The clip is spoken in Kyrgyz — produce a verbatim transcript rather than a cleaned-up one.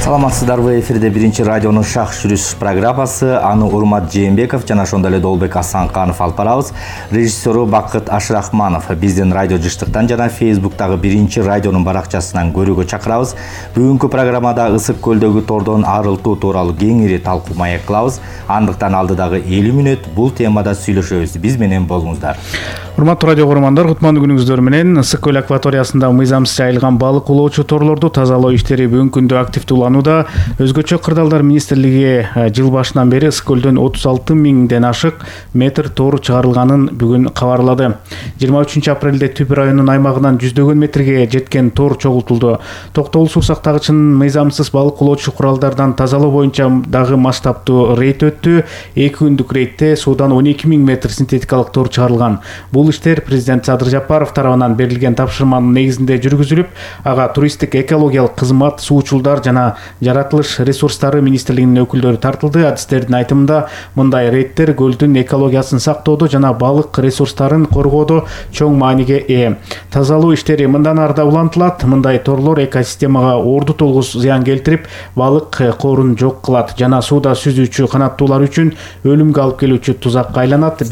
Саламатсыздарбы, эфирде биринчи радионун шах жүрүш программасы. Аны Урмат Жээнбеков жана ошондой эле Долбек Асанканов алып барабыз. Режиссеру Бакыт Ашрахманов. Биздин радио жыштыктан жана Фейсбуктагы биринчи радионун баракчасынан көрүүгө чакырабыз. Бүгүнкү программада Ысык көлдөгү тордон арылтуу тууралуу кеңири талкуу маек кылабыз. Андыктан алдыдагы элүү мүнөт бул темада сүйлөшөбүз. Биз менен болуңуздар. Урматтуу радио көрөрмандар, кутмандуу күнүңүздөр менен. Ысык көл акваториясында мыйзамсыз жайылган балык улоочу торлорду тазалоо иштери бүгүнкү күндө активдүүланууда. Өзгөчө Кырдаалдар министрлиги жыл башынан бери Ысык көлдөн отуз алты миңден ашык метр тор чыгарылганын бүгүн кабарлады. жыйырма үчүнчү апрелде Түп районунун аймагынан жүздөгөн метрге жеткен тор чогултулду. Токтогул суу сактагычынын мыйзамсыз балык улоочу куралдардан тазалоо боюнча дагы масштабтуу рейд өттү. эки күндүк рейдте суудан он эки миң метр синтетикалык тор чыгарылган. Бул иштер президент Садыр Жапаров тарабынан берилген тапшырманын негизинде жүргүзүлүп, ага туристтик экологиялык кызмат, суучулдар жана жаратылыш ресурстары министрлигинин өкүлдөрү тартылды. Адистердин айтымында, мындай рейдтер көлдүн экологиясын сактоодо жана балык ресурстарын коргоодо чоң мааниге ээ. Тазалоо иштери мындан ары да улантылат. Мындай торлор экосистемага орду толгус зыян келтирип, балык коорун жок кылат жана сууда сүзүүчү канаттуулар үчүн өлүмгө алып келүүчү тузакка айланат.